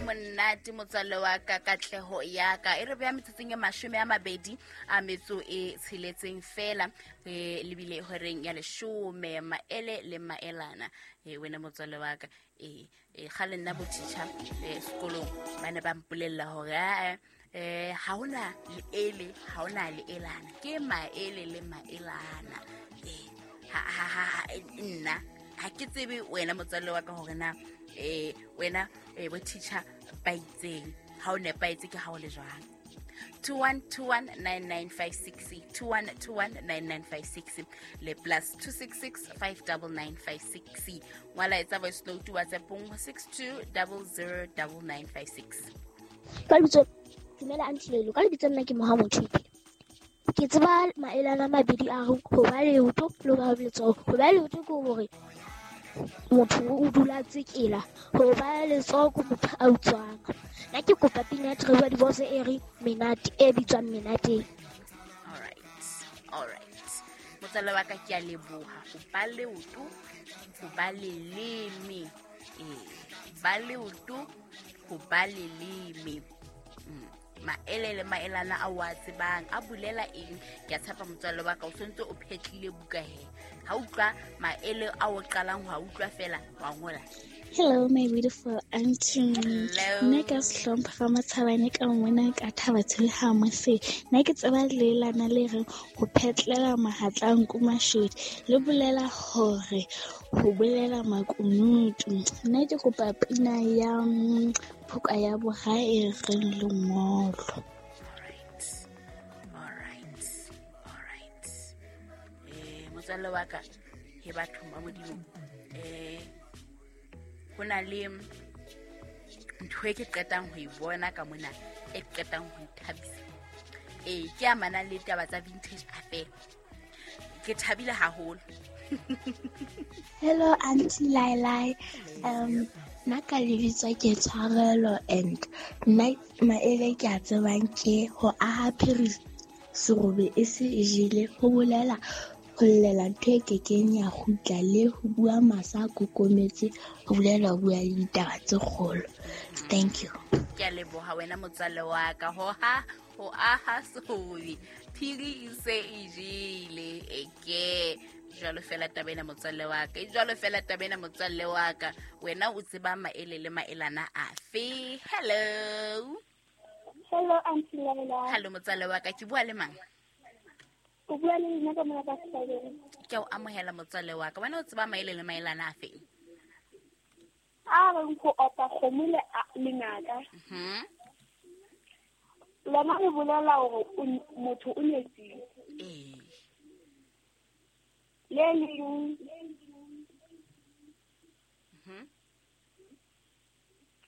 Monate motswalle wa ka, katleho ya ka e re beha metsotsong e 26 fela, re lebile horeng ya 10. Maele le maelana. Wena motswalle wa ka, kgale nna bo teacher sekolong ba ne ba mpolella hore ha hona leele, ha hona leelana, ke maele le maelana. Nna ha ke tsebe wena motswalle wa ka hore na wena bo teacher ba itseng ha o nepahetse ke ha o le jwang. 21219956, 21219956 le +266 59956. Ngwala, etsa voice note WhatsAppong 62009956. Ka lebitso, dumela Aunty Lelo, ka lebitso nna ke Moha Mothupi. Ke tseba maelana a mabedi a reng ho ba leoto le ho ba letsoho. Ho ba leoto ke hore motho o dula tsekela, ho ba letsoho ke motho a utswang. Nna ke kopa pina ya Trevor Divorce e reng Menate, e bitswang Menateng. Alright, alright motswalle wa ka, ke a leboha. Ho ba leoto, ho ba leleme, ba leoto, ho ba leleme. Maele le maelana a o a tsebang a bolela eng? Ke a tshepa motswalle wa ka o sontse o phetlile buka he ha utlwa maele a o qalang ho a utlwa fela wa ngola. Hello, my beautiful auntie. Hello. Nna ka Sehlompha ga Matshabane ka mona ka Thaba ha mose. Nna ke tseba leelana le reng ho phetlela mahatla nku mashodi, le bolela hore ho bolela makunutu. Nna ke kopa pina ya Phoka ya Bora e reng Lengolo. Alright, alright, alright. Motswalle wa ka, he bathong ba Modimo, ho na le ntho e ke qetang ho e bona ka mona e qetang ho nthabisa, ke amanang le taba tsa Vintage Affair. Ke thabile haholo. Hello, Auntie Lailai. Nna ka lebitso ke Tshwarelo, and nna maele ke a tsebang ke ho aha phiri serobe e se e jele, ho bolela ho llela ntho e kekeng ya kgutla, le ho bua masa a kokometse, ho bolela ho bua le ditaba tse kgolo. Thank you. Ke a leboha wena motswalle wa ka. Ho aha serobe phiri e se e jele, eke jwalo fela taba ena motswalle wa ka, e jwalo fela taba ena motswalle wa ka. Wena o tseba maele le maelana afe? Hello. Hello, Auntie Laila. Hello motswalle wa ka, ke bua le mang? O bua le nna ka mona ka Sehlabeng. Ke o amohela motswalle wa ka. Wena o tseba maele le maelana afe? A reng ho opa kgomo le lenaka. Lona le bolela hore motho o nyetsile. Le leng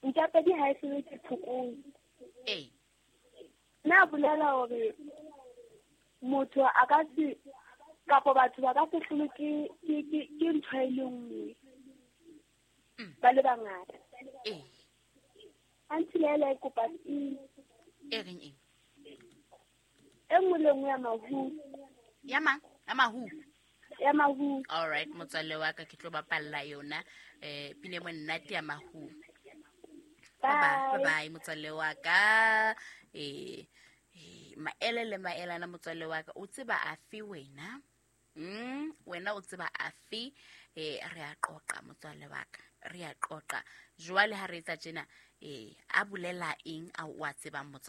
ntjapedi ha e hlolwe ke phokojwe. Nna bolela hore motho a ka se, kapa batho ba ka se hlolwe ke ntho e le nngwe. Ba le bangata. Auntie Laila, e kopa eng? E reng eng? E nngwe le nngwe ya mahu. Ya mang? Ya mahu. Ya mahu. All right, motswalle wa ka, ke tlo bapalla yona. Pine monate ya mahu. Bye. Bye bye motswalle wa ka. Maele le maelana motswalle wa ka, o tseba afe wena? Wena o tseba afe? Re a qoqa motswalle wa ka, re a qoqa. Jwale ha re etsa tjena, a bolela eng a o a tsebang motswalle?